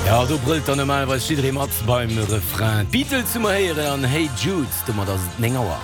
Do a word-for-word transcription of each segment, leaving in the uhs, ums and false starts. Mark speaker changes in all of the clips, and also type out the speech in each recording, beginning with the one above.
Speaker 1: Jo, do brëllt dann normalerweis jidderee mat beim Refrain. D'Beatles hu mer héieren an Hey Jude. Domat ass et néng Auer.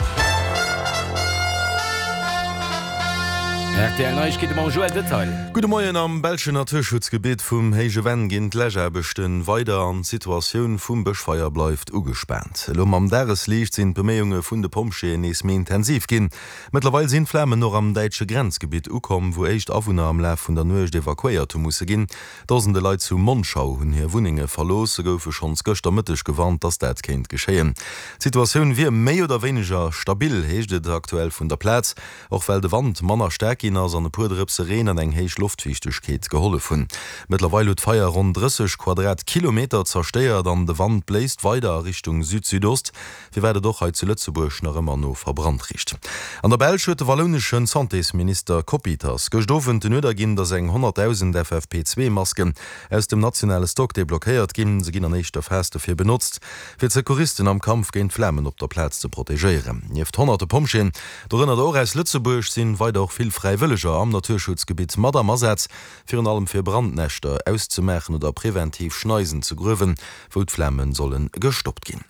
Speaker 1: Rtl Neiegkeete mam Joël Detail.
Speaker 2: Gudde Moien, Am belschen Naturschutzgebitt vum Héije Venn ginn d'Läschaarbechte weider an d'Situatioun vum Bëschfeier bleift ugespaant. Elo mam Dagesliicht sinn d'Beméiunge vun de Pompjeeën nees méi intensiv ginn. Mëttlerweil sinn d'Flamen och am däitsche Grenzgebitt ukomm, wou éischt Awunner am Laf vun der Nuecht evakuéiert hu musse ginn. Dosende Leit zu Monschau hunn hir Wunnenge verlooss. Se goufe schonns gëschter Mëtteg gewarnt, dass dat kéint geschéien. D'Situatioun wier méi oder wéineger stabil, heescht et aktuell vun der Plaz, och well de Wand manner staark ginn ass an e puer Drëpse Reen an eng héich Loftfiichtegkeet gehollef hunn. Mëttlerweil huet d'Feier ronn drësseg Quadratkilometer zerstéiert an de Wand bléist weider a Richtung Süd-Südost, firwat et och hei zu Lëtzebuerg nach ëmmer no verbrannt richt. An der Belsch huet de wallounesche Santésminister Coppieters gëscht Owend den Uerder ginn, datt eng honnertdausend F F P zwee Masken aus dem nationale Stock deblockéiert ginn. Se ginn an éischter Phas dofir benotzt, fir d'Secouristen am Kampf géint d'Flamen op der Plaz ze protegéieren. Nieft honnerte Pompjeeën, dorënner der och aus Lëtzebuerg, sinn weider och vill Fräiwëlleger am Naturschutzgebitt mat am Asaz, virun allem fir Brandnäschter auszemaachen oder preventiv Schneisen ze gruewen, wou d'Flame solle gestoppt ginn.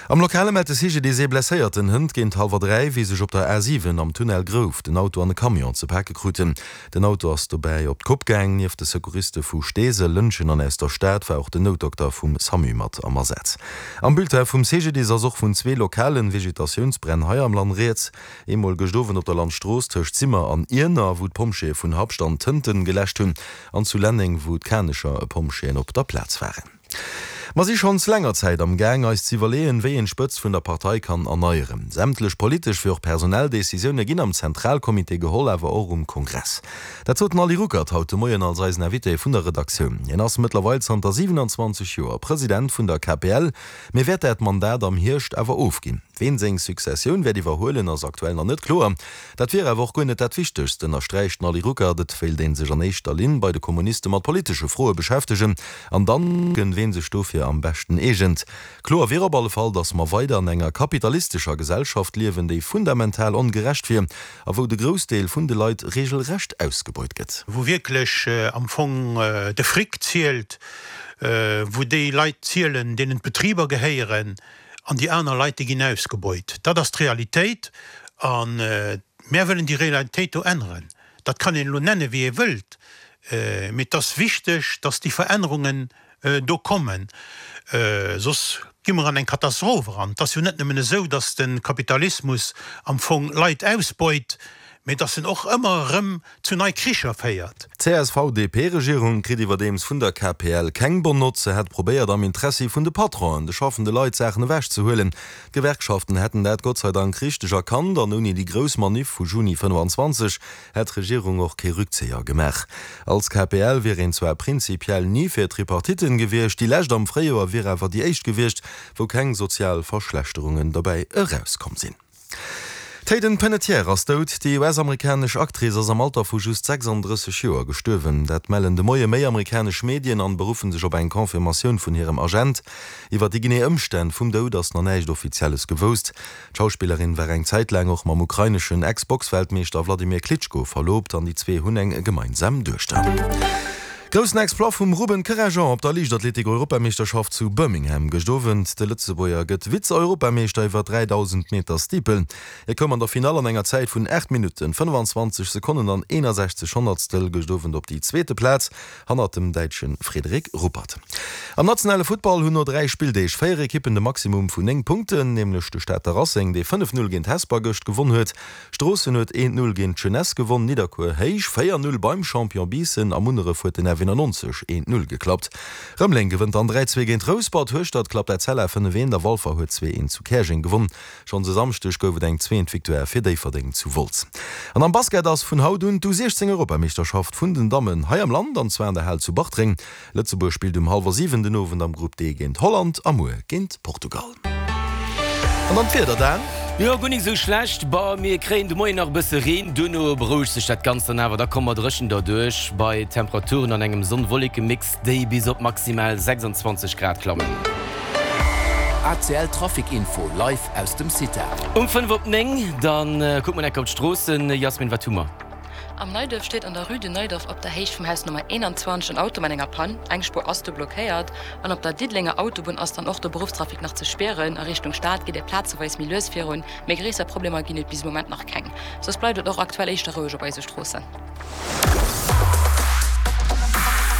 Speaker 2: Am Lokale mellt de C G D S ee Blesséierten hënt géint hallwer dräi, wéi sech op der A siwen am Tunnel Grouf den Auto an e Camion ze pake kruten. Den Auto ass dobäi op d'Kopp gaang. Nieft de Secouriste vu Steesel, Lëntgen an aus der Stad war och den Noutdokter vum SAMU mat am Asaz. Am Bulletin vum C G D S ass och vun zwee lokalen Vegetatiounsbränn hei am Land rieds. Eemol gëscht Owend op der Landstrooss tëscht Simmer an Iener, wou d'Pompjeeë vun Habscht an Tënten geläscht hunn, an zu Lenneng, wou d'Kanecher Pompjeeën op der Plaz waren. Mer si schonns länger Zäit am Gaang, eis z'iwwerleeën, wéi een d'Spëtzt vun der Partei kann erneieren. Sämtlech politesch wéi och personell Decisioune ginn am Zentralcomité geholl, awer och um Kongress. Dat sot den Ali Ruckert haut de Moien als eisen Invité vun der Redaktioun. Hien ass mëttlerweil zanter siwenanzwanzeg Joer President vun der K P L, mee wäert dat Mandat am Hierscht awer ofginn. Ween seng Successioun wäert iwwerhuelen, ass aktuell nach net kloer. Dat wier awer och guer net dat Wichtegst, ënnersträicht den Ali Ruckert. Et wéilt ee sech an éischter Linn bei de Kommuniste mat politesche Froe beschäftegen an dann kucken, ween sech dofir am beschten eegent. Kloer wier op alle Fall, datt mer weider an enger kapitalistescher Gesellschaft liewen, déi fundamental ongerecht wier a wou de Groussdeel vun de Leit regelrecht ausgebeut gëtt.
Speaker 3: Wou wierklech am Fong de Fric zielt, wou déi Leit zielen, deenen d'Betriber gehéieren, an déi aner Leit, déi ginn ausgebeut. Dat ass d'Realitéit an mär wëllen déi Realitéit do änneren. Dat kann een elo nenne wéi ee wëllt, mee et ass wichteg, datt déi Verännerungen do kommen, soss gi mer an eng Katastroph eran. Et ass jo net nëmmen esou, datt de Kapitalismus am Fong Leit ausbeut, mee datt en och ëmmer erëm zu nei Kricher féiert.
Speaker 2: D C S V D P-Regierung kritt iwwerdeems vun der K P L keng bonne Note. Se hätt probéiert, am Interessi vun de Patronen, de schaffende Leit, Saachen ewechzehuelen. D'Gewerkschaften hätten dat Gott sei Dank richteg erkannt an ouni déi grouss Maniff vu Juni fënnefanzwanzeg hätt d'Regierung och kee Rückzéier gemaach. Als K P L wier een zwar prinzipiell ni fir Tripartitten gewiescht, déi lescht am Fréijoer wier awer déi éischt gewiescht, wou keng sozial Verschlechterungen dobäi erauskomm sinn. D'Hayden Panettiere ass dout. Déi U S-amerikanesch Actrice ass am Alter vu just sechsanddrësseg Joer gestuerwen. Dat mellen de Moie méi amerikanesch Medien an beruffen sech op eng Confirmatioun vun hirem Agent. Iwwer déi genee Ëmstänn vum Doud ass nach näischt Offizielles gewousst. D'Schauspillerin war eng Zäit laang och mam ukraineschen Ex-Boxweltmeeschter Wladimir Klitschko verloobt an déi zwee hunn eng gemeinsam Duechter. Groussen Exploit vum Ruben Kerejean op der Liichtathletik-Europameeschterschaft zu Birmingham gëscht Owend. De Lëtzebuerger gëtt Vize-Europameeschter iwwer dräidausend Meter Steeple. Hie koum an der Finall an enger Zäit vun aacht Minutten, fënnefanzwanzeg Sekonnen an eenasechzeg Honnertstel gëscht Owend op déi zweete Plaz, hannert dem Däitsche Frederik Ruppert. Am nationale Futtball hunn no dräi Spilldeeg véier Ekippen de Maximum vun néng Punkten, nämlech de Stater Racing, dee fënnef Null géint Hesper gëscht gewonn huet. Stroossen huet eent Null géint d'Jeunesse gewonn, Nidderkuer héich véier Null beim Champion Biissen a Munneref huet den F eenannonzeg eent Null geklappt. Rëmeleng gewënnt an dräi zwee géint Rouspert, Hueschtert klappt Etzella fënnef eent a Walfer huet zwee eent zu Käerjeng gewonn. Schonns e Samschdeg gouf et eng zweent Victoire fir Déifferdeng zu Wolz. An am Basket ass vun haut un d'U siechzéng Europameeschterschaft vun den Dammen hei am Land, an zwar an der Hal zu Bartreng. Lëtzebuerg spillt um hallwer siwen den Owend am Grupp D géint Holland a muer géint Portugal. An dann d'Wieder, Dan?
Speaker 1: Jo, guer nik esou schlecht. Bah, mir kréien de Moien nach e bësse Reen, duerno berouegt sech dat Ganzt dann awer. Da komme mer dréchen derduerch bei Temperaturen an engem Sonn-Wolleke-Mix, déi bis op maximal sechsandzwanzeg Grad klammen.
Speaker 4: A C L Trafic Info live aus dem Cita.
Speaker 1: Um fënnef op néng, dann kucke mer enk op d'Stroossen. Jasmin, wat hu mer?
Speaker 5: Am Neiduerf steet an der Rue du Neudorf op der Héicht vum Haus Nummer eenanzwanzeg en Auto mat enger Pann. Eng Spuer ass do blockéiert. An op der Diddelenger Autobunn ass dann och de Beruffstrafic nach ze spieren. A Richtung Stad geet et plazeweis méi lues virun, mee gréisser Problemer ginn et bis de Moment nach keng. Soss bleift et och aktuell éischter roueg op eise Stroossen.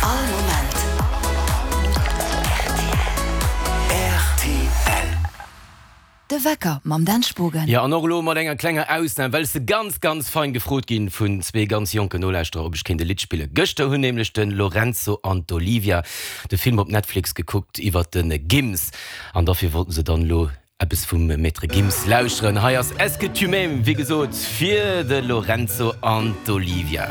Speaker 6: All Moment rtl. De Wecker mam Dan Spogen.
Speaker 1: Jo, an och elo mat enger klenger Ausnam, well ech se ganz, ganz fein gefrot ginn vun zwee ganz jonken Nolauschterer, ob ech kéint e Lidd spillen. Gëschter hunn nämlech de Lorenzo an d'Olivia de Film op Netflix gekuckt iwwert de Gims, an dofir wollten se dann elo eppes vum Maître Gims lauschteren. Hei ass Est-ce que tu m'aimes, wéi gesot, fir de Lorenzo an d'Olivia.